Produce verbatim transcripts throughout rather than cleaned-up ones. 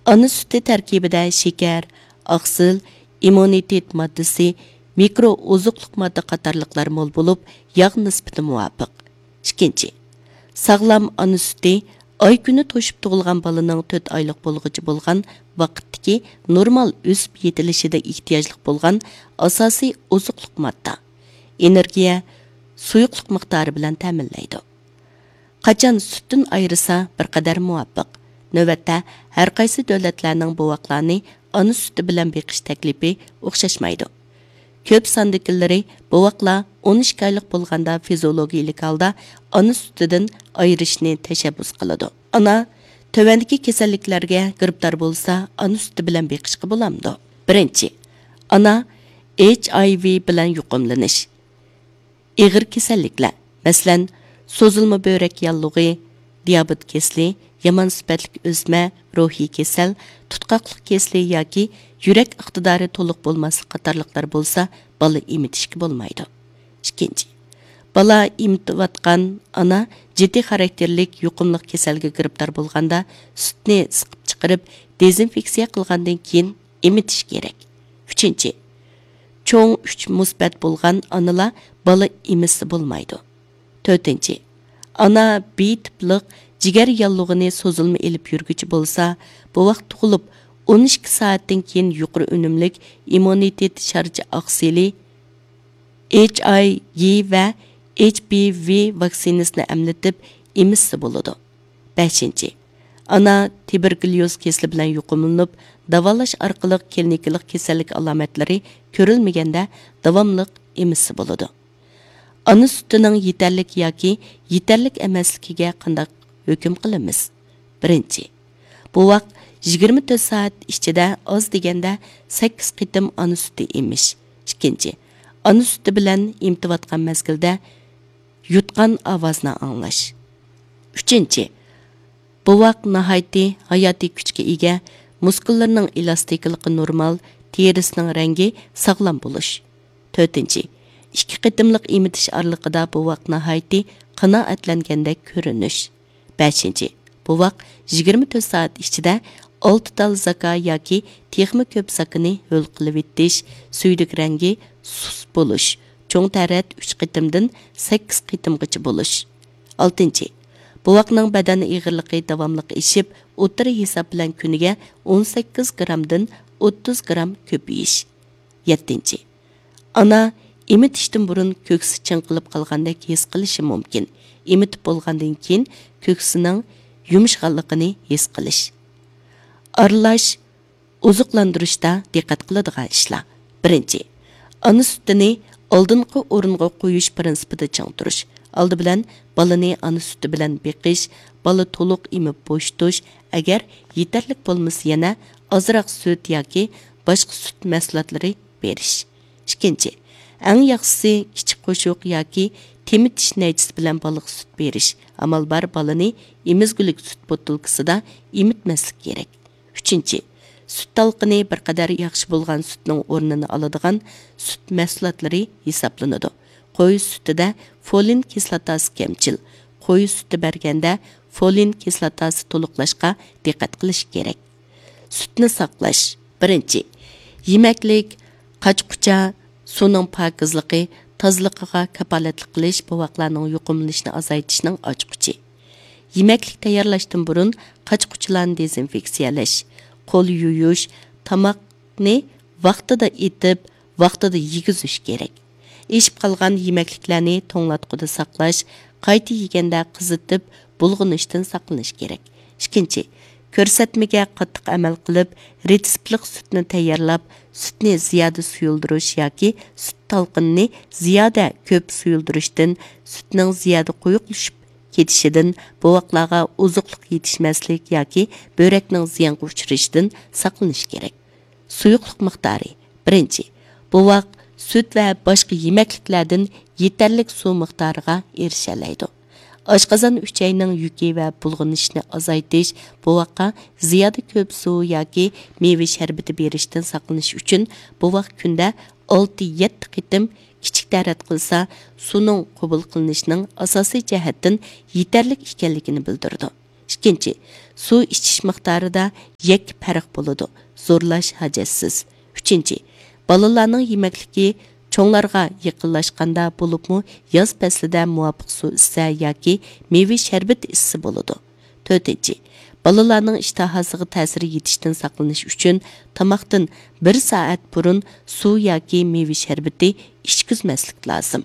ئانا سۈتى تەركىبىدە شېكەر، ئاقسىل، ئىممۇنىتېت ماددىسى، مىكرو ئوزۇقلۇق ماددا قاتارلىقلار مول بولۇپ، ياغ نىسبىتى مۇۋاپىق. ئىككىنچى، ساغلام ئانا سۈتى ئاي كۈنى توشۇپ تۇغۇلغان بالىنىڭ تۆت ئايلىق بولغۇچە بولغان ۋاقىتتىكى نورمال ئۆسۈپ يېتىلىشىدە ئېھتىياجلىق بولغان ئاساسىي ئوزۇقلۇق ماددا، ئېنېرگىيە، سۇيۇقلۇق مىقدارى بىلەن تەمىنلەيدۇ. قاچان سۈتتىن ئايرىسا، بىر قەدەر مۇۋاپىق. نۆۋەتتە، ھەر قايسى دۆلەتلەرنىڭ بوۋاقلارنى ئانا سۈتى بىلەن بېقىش تەكلىپى ئوخشاشمايدۇ. كۆپ ساندىكىلىرى بوۋاقلار ئون ئىككى ئايلىق بولغاندا فىزىئولوگىيىلىك ھالدا ئانا سۈتىدىن ئايرىشنى تەشەببۇس قىلىدۇ. ئانا تۆۋەندىكى كېسەللىكلەرگە گىرىپتار بولسا، ئانا سۈتى بىلەن بېقىشقا بولامدۇ؟ بىرىنچى، ئانا ھېچ ئاي ۋى بىلەن يۇقۇملىنىش. ئېغىر كېسەللىكلەر، مەسىلەن، سوزۇلما بۆرەك ياللۇغى، دىيابېت كېسىلى، يامان سۈپەتلىك ئۆسمە، روھىي كېسەل، تۇتقاقلىق كېسىلى ياكى يۈرەك ئىقتىدارى تولۇق بولماسلىق قاتارلىقلار بولسا، بالا ئېمىتىشكە بولمايدۇ. ئىككىنچى، بالا ئېمىتىۋاتقان ئانا جىددىي خاراكتېرلىك يۇقۇملۇق كېسەلگە گىرىپتار بولغاندا، سۈتنى سىقىپ چىقىرىپ، دېزىنفېكسىيە قىلغاندىن كېيىن ئېمىتىش كېرەك. ئۈچىنچى، چوڭ ئۈچ مۇسبەت بولغان ئانىلار بالا ئېمىتسە بولمايدۇ. تۆتىنچى، ئانا بى تىپلىق جىگەر ياللۇغىنى سوزۇلما ئېلىپ يۈرگۈچى بولسا، بوۋاق تۇغۇلۇپ ئون ئىككى سائەتتىن كېيىن يۇقىرى ئۈنۈملۈك ئىممۇنىتېت شارچە ئاقسىلى، ھېچ ئاي ۋى ۋە ھېچ بى ۋى ۋاكسىنىسىنى ئەملىتىپ ئېمىتسە بولىدۇ. بەشىنچى، ئانا تۇبېركۇليوز كېسىلى بىلەن يۇقۇملىنىپ، داۋالاش ئارقىلىق كلىنىكىلىق كېسەللىك ئالامەتلىرى كۆرۈلمىگەندە داۋاملىق ئېمىتسە بولىدۇ. ئانا سۈتىنىڭ يېتەرلىك ياكى يېتەرلىك ئەمەسلىكىگە قانداق ھۆكۈم قىلىمىز؟ بىرىنچى، بوۋاق يىگىرمە تۆت سائەت ئىچىدە ئاز دېگەندە سەككىز قېتىم ئانا سۈتى ئېمىش. ئىككىنچى، ئانا سۈتى بىلەن ئېمىتىۋاتقان مەزگىلدە يۇتقان ئاۋازنى ئاڭلاش. ئۈچىنچى، بوۋاق ناھايىتى ھاياتىي كۈچكە ئىگە، مۇسكۇللىرىنىڭ ئېلاستىكىلىقى نورمال، تېرىسىنىڭ رەڭگى ساغلام بولۇش. تۆتىنچى، ئىككى قېتىملىق ئېمىتىش ئارىلىقىدا بوۋاق ناھايىتى قانائەتلەنگەندەك كۆرۈنۈش. بەشىنچى، بوۋاق يىگىرمە تۆت سائەت ئىچىدە ئالتە تال زاكا ياكى تېخىمۇ كۆپ زاكىنى ھۆل قىلىۋېتىش، سۈيدۈك رەڭگى سۇس بولۇش، چوڭ تەرەت ئۈچ قېتىمدىن سەككىز قېتىمغىچە بولۇش. ئالتىنچى، بوۋاقنىڭ بەدەن ئېغىرلىقى داۋاملىق ئېشىپ، ئوتتۇرا ھېساب بىلەن كۈنىگە ئون سەككىز گرامدىن ئوتتۇز گرام كۆپىيىش. يەتتىنچى، ئانا ئېمىتىشتىن بۇرۇن كۆكسى چىڭقىلىپ قالغاندەك ھېس قىلىشى مۇمكىن. ئېمىتىپ بولغاندىن كېيىن كۆكسىنىڭ يۇمشىغانلىقىنى ھېس قىلىش. ئارىلاش ئوزۇقلاندۇرۇشتا دىققەت قىلىدىغان ئىشلار. بىرىنچى، ئانا سۈتىنى ئالدىنقى ئورۇنغا قويۇش پىرىنسىپىدا چىڭ تۇرۇش. ئالدى بىلەن بالىنى ئانا سۈتى بىلەن بېقىش، بالا تولۇق ئېمىپ بوشىتىش، ئەگەر يېتەرلىك بولمىسا يەنە ئازراق سۈت ياكى باشقا سۈت مەھسۇلاتلىرى بېرىش. ئىككىنچى، ئەڭ ياخشىسى كىچىك قوشۇق ياكى تېمىتىش نەيچىسى بىلەن بالىغا سۈت بېرىش. ئامال بار بالىنى ئېمىزگۈلۈك سۈت بوتۇلكىسىدا ئېمىتمەسلىك كېرەك. ئۈچىنچى، سۈت تالقىنى بىر قەدەر ياخشى بولغان سۈتنىڭ ئورنىنى ئالىدىغان سۈت مەھسۇلاتلىرى ھېسابلىنىدۇ. قوي سۈتىدە فولىن كىسلاتاسى كەمچىل. قوي سۈتى بەرگەندە فولىن كىسلاتاسى تولۇقلاشقا دىققەت قىلىش كېرەك. سۈتنى ساقلاش. بىرىنچى، يېمەكلىك، قاچا-قۇچا، سۇنىڭ پاكىزلىقى، تازىلىقىغا كاپالەتلىك قىلىش بوۋاقلارنىڭ يۇقۇملىنىشىنى ئازايتىشنىڭ ئاچقۇچى. يېمەكلىك تەييارلاشتىن بۇرۇن قاچا-قۇچىلارنى دېزىنفېكسىيەلەش، قول يۇيۇش، تاماقنى ۋاقتىدا ئېتىپ، ۋاقتىدا يېگۈزۈش كېرەك. ئېشىپ قالغان يېمەكلىكلەرنى توڭلاتقۇدا ساقلاش، قايتا يېگەندە قىزىتىپ، بۇلغىنىشتىن ساقلىنىش كېرەك. ئىككىنچى، كۆرسەتمىگە قاتتىق ئەمەل قىلىپ، رېتسېپلىق سۈتنى تەييارلاپ، سۈتنى زىيادە سۇيۇلدۇرۇش ياكى سۈت تالقىنىنى زىيادە كۆپ سۇيۇلدۇرۇشتىن، سۈتنىڭ زىيادە قويۇقلىشىپ كېتىشىدىن، بوۋاقلارغا ئوزۇقلۇق يېتىشمەسلىك ياكى بۆرەكنىڭ زىيانغا ئۇچرىشىدىن ساقلىنىش كېرەك. سۇيۇقلۇق مىقدارى. بىرىنچى، بوۋاق سۈت ۋە باشقا يېمەكلىكلەردىن يېتەرلىك سۇ مىقدارىغا ئېرىشەلەيدۇ. ئاشقازان ئۈچەينىڭ يۈكى ۋە بۇلغىنىشىنى ئازايتىش، بوۋاققا زىيادە كۆپ سۇ ياكى مېۋە شەربىتى بېرىشتىن ساقلىنىش ئۈچۈن، بوۋاق كۈندە ئالتە يەتتە قېتىم كىچىك تەرەت قىلسا، سۇنىڭ قوبۇل قىلىنىشىنىڭ ئاساسىي جەھەتتىن يېتەرلىك ئىكەنلىكىنى بىلدۈرىدۇ. ئىككىنچى، سۇ ئىچىش مىقدارىدا يەككە پەرق بولىدۇ، زورلاش ھاجەتسىز. ئۈچىنچى، بالىلارنىڭ يېمەكلىكى چوڭلارغا يېقىنلاشقاندا، بولۇپمۇ ياز پەسلىدە مۇۋاپىق سۇ ئىچسە ياكى مېۋە شەربىتى ئىچسە بولىدۇ. تۆتىنچى، بالىلارنىڭ ئىشتىھاسىغا تەسىر يېتىشتىن ساقلىنىش ئۈچۈن تاماقتىن بىر سائەت بۇرۇن سۇ ياكى مېۋە شەربىتى ئىچكۈزمەسلىك لازىم.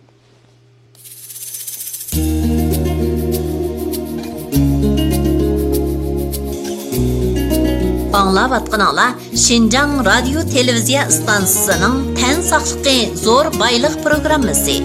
ئاڭلاۋاتقىنىڭلار شىنجاڭ رادىيو تېلېۋىزىيە ئىستانسىسىنىڭ تەن ساقلىقى زور بايلىق پروگراممىسى.